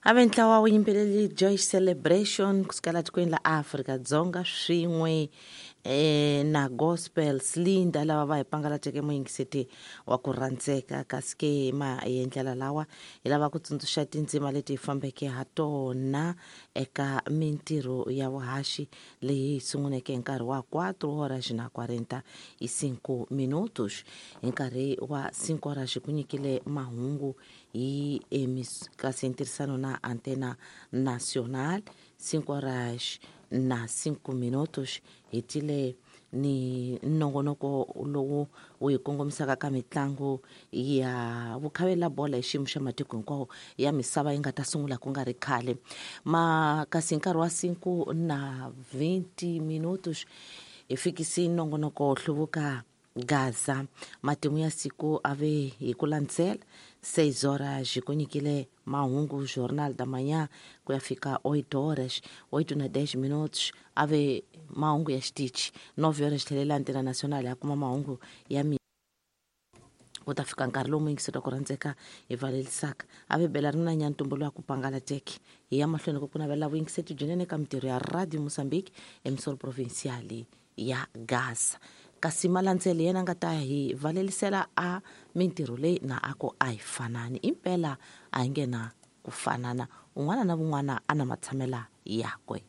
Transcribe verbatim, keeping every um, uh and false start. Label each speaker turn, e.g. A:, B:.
A: Ave ntlawa wu yimbeleli Joy Celebration kusukela tikweni la Afrika-Dzonga swin'we eh, na Gospel Slinda lava va hi pangalateke muyingiseti wa ku rhandzeka. Kasi ke ma hi ndlela lawa hi lava ku tsundzuxa tindzima leti hi fambeke ha tona eka mintirho ya vuhaxi leyi hi sunguleke hi nkarhi wa quatro horas na quarenta e cinco minutos. Hi nkarhi wa cinco horas ku nyikile mahungu hi emis kasi ntirhisano na Antena Nacional. Cinco horas na cinco minutos hi tile ni nongonoko lowu wu hi kongomisaka ka mitlangu ya vukhavela bolo hi xiyimo xa matiko hinkwawo ya misava yi nga ta sungula ku nga ri khale. Ma kasi hi nkarhi wa cinco na vinte minutos hi fikisi nongonoko hluvuka Gaza. Matimu ya siku ave hi ku landzela seis horas ku nyikile mahungu Jornal da Manhã ku ya fika oito horas, oito na dez minutos ave mahungu ya xitichi. Nove horas tlhelela Antena Nacional ya kuma mahungu ya mi ku ta fika nkarhi lowu muyingiseri wa ku rhandzeka hi valelisaka ave bela ri na nyantumbu lowa ku pangalateke. Hi ya mahlweni ku ku navela vuyingiseti byinene eka mintirho ya Radio Mozambique emisoro provincial ya Gaza. Kasi malandzelo yena nga ta hi valelisela a mintirho leyi na a ku a hi fanani impela a hi nge na ku fanana, un'wana na un'wana a na matshamela yakwe.